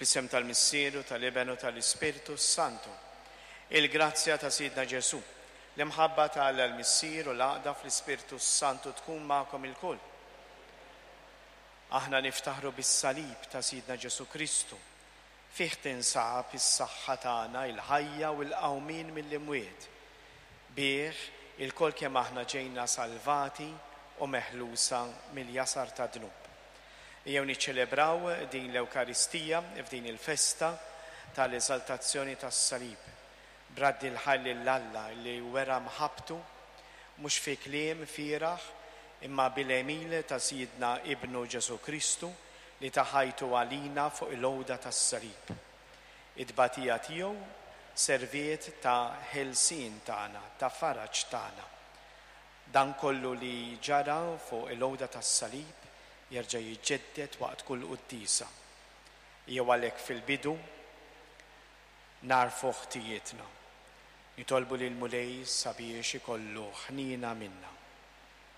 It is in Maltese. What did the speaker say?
Fl-isem tal-Missier u tal-Iben u tal-Ispirtu s-Santu. Il-grazzja ta' Sidna Ġesù, l-imħabba ta' Alla l-Missier u l-għaqda fl-Ispirtu s-Santu tkun magħkom ilkoll. Aħna niftaħru bis-salib ta' Sidna Ġesù Kristu. Fih tinsab is-saħħa tagħna, il-ħajja u l-qawmien mill-imwiet. Bih, ilkoll kemm aħna ġejna salvati u meħlusa mill-jasar tad-dnub. Ejjew niċċelebraw din l-Ewkaristija f'din il-festa tal-Eżaltazzjoni tas-Salib, b'radd il-ħajr lil Alla li wera mħabbtu, mhux fi kliem fieragħ, imma bil-għemil ta' Sidna Ibnu Ġesù Kristu li ta ħajtu għalina fuq il-għuda tas-salib. It-tbatija tiegħu serviet ta' ħelsien tagħna, ta' faraġ tagħna. Dan kollu li ġara fuq il-għuda tas-salib jerġa' jiġġedded waqt kull quddiesa. Jew għalhekk fil-bidu nagħrfu ħtijietna. Nitolbu lill-Mulej sabiex ikollu ħniena minna.